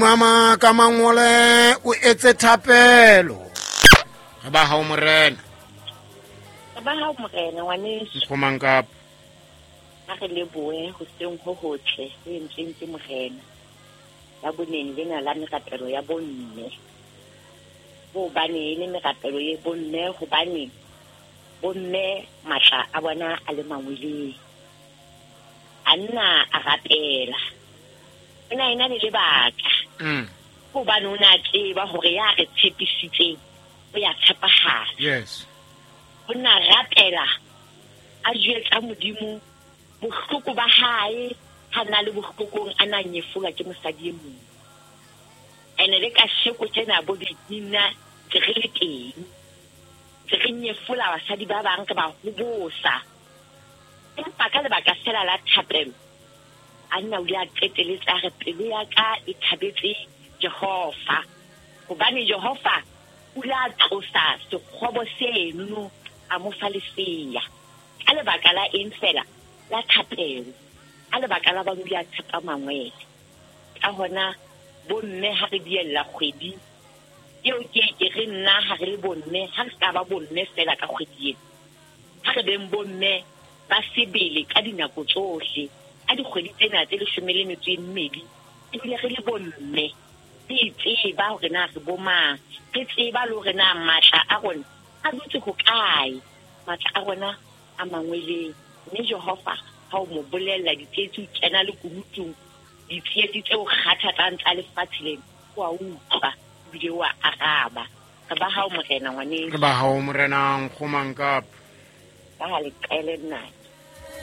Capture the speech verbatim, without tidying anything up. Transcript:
Mama ka mangole o etse thapelo. Re ba hao morena. Re ba hao morena ngwaneso. Nkgomang kapa. Ha re lebohe hoseng ho hotle ho entsweng ke morena. Ya boneng lena la merapelo ya bomme. Hobane e le merapelo ye bomme hobane bomme matla a bona a le mangweleng. A nna a rapela. O na ena le lebaka. Mm. Hobane o na tseba hore ya re tshepisitseng o ya tshepahala. Yes. O na rapela a jwetsa Modimo bohloko ba hae ha na le bohlokong a na nyefolwa ke mosadi e mong. Ene le ka sheko tsena bo dina tse re le teng. Tse re nyefola basadi ba bang ke ba hobosa. Empa ka lebaka fela la thapelo a nna o ile a qeteletse a re pelo ya ka e thabetse Jehova. Hobane Jehova o ile a tlosa sekgobo seno a mo fa lesea. Ka lebaka la eng fela? La thapelo. Ka lebaka la ba o ile a tshepa mangwele. Ka hona bomme ha re diella kgwedi eo ke ke re nna ha re le bomme, ha re ska ba bomme fela ka kgwedi ena. Ha re beng bomme ba sebele ka dinako tsohle. Ka dikgwedi tsena tse leshome le metso e mmedi, ebile re le bomme, re itseba hore na re bo mang, re tseba le hore na matla a rona a dutse hokae, matla a rona a mangweleng. Mme Jehova ha o mo bolella ditsietsi, o kena le kunutung, ditsietsi tseo kgathatsang tsa lefatshe lena, o a utlwa ebile o a araba. Re ba hao morena ngwaneso. Re ba hao morena nkgomang kapa. Ba ha leqele nna.